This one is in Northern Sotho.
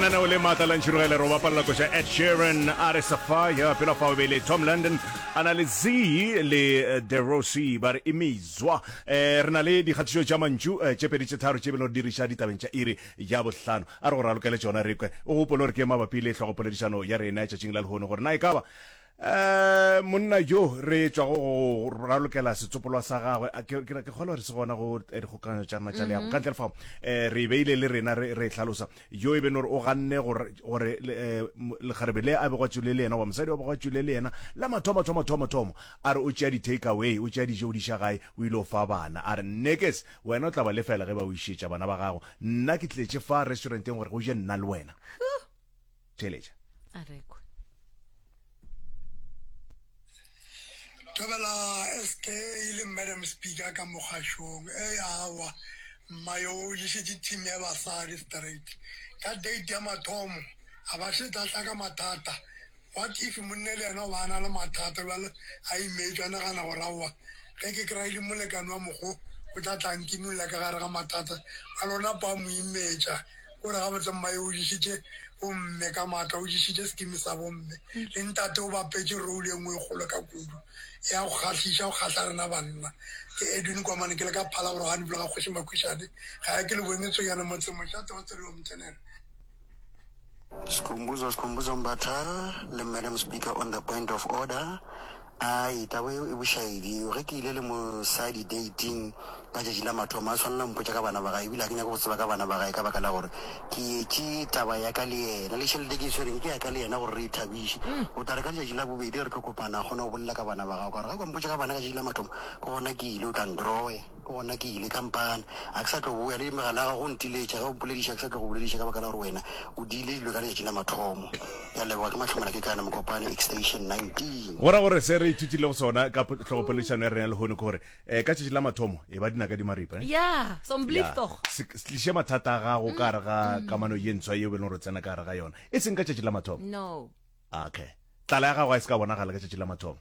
Lenaneo le maatla la Ntšhirogele re o bapalela koša Ed Sheeran a re Sapphire pela fao be le Tom London a na le Z le De Rossi ba re Imizwa. Eh, re na le dikgatišo tša mantšu eh, tše pedi tše tharo tše bile re diriša ditabeng tša iri ya bohlano. A re go ralokele tšona re kwe. O gopole gore ke mabapi le hlogopoledišano ya rena tšatšing la lehono gore na e ka ba Eh, monna yo re tšwago go ralokela setsopolwa sa gagwe a ke ke- ke kgolwa gore se gona go eh, dikgokaganyo tša rena tša leago ka ntle le fao eh, re e beile le rena re re e hlalosa yo e beno gore o ganne gore gore le, eh, mo- lekgarebe le a bego a tšwele le yena goba mosadi wa bego a tšwele le yena la mathomo thomo thomo thomo a re o tšea di-take away o tšea dijo o di iša gae o ile o fa bana a re nnekes wena o tla ba lefela ge ba o išetša bana ba gago nna ke tletše fa restauranteng gore go je nna le wena theeletša a rekwe Thobela SK le Madam Speaker ka mokgašong. Ei awa, mma yo o ješetše team ya basadi straight. Ka date ya mathomo, a ba šetša a tla ka mathata. What if monne le yena o ba a na le mathata bjale a imetšwe a nagana gore aowa ge ke kry-ile molekane wa mokgo o tla tla nkinolla ka gare ga mathata. Bjale o napa a mo imetša. O re gabotse mma yo o ješitše bomme ka maatla, o ješitše sekimi sa bomme. Le ntate o bapetše role e nngwe e kgolo ka kudu ya go kgahliša, go kgahla rena banna. Ke Edwin Komane ke le ka Phalaborwa ga Nipolo ga Kgoši Makhwišane. Ga ya ke le bone Tsonyane motseng mošate wa Tseriwa Mtsenele. Skhumbuzo Skhumbuzo Mbatha le Madam Speaker on the point of order. Ai, taba yeo e bošaedi. Ge ke ile le mosadi dating ka tšatši la mathomo, a swanela mpotša ka bana ba gae, ebile ga ke nyake go tseba ka bana ba gae ka baka la gore ke etše taba ya ka le yena. Le tšhelete ke e swereng ke ya ka le yena gore re ithabiše. O tla re ka letšatši la bobedi re tlo kopana, a kgone go bolela ka bana ba gago. Ka gore ge o ka mpotša ka bana ka tšatši la mathomo, ke gona ke ile, o tla ntroya. Ke gona ke ile ka mpana. Ga ke sa tlo boya le megala ya gago go ntiletša. Ge o mpolediša, ke sa tlo go bolediša ka baka la gore wena o diile dilo ka letšatši la mathomo. Ke a leboga, ke Mahlomela Kekana, Mokopane, Extension 19. Go ra gore se re ithutilego sona ka hlogopoledišano ya rena ya lehono ke gore um ka tšatši la mathomo e ba dinaka di maripa. Eh? Ya, Ya, somblief-tog. se se tliše mathata a gago ka gare ga kamano ye ntshwa yeo e leng gore o tsena ka gare ga yona, e seng ka tšatši la mathomo. No. Okay. Tlala ya gago ga e se ka bonagala ka tšatši la mathomo.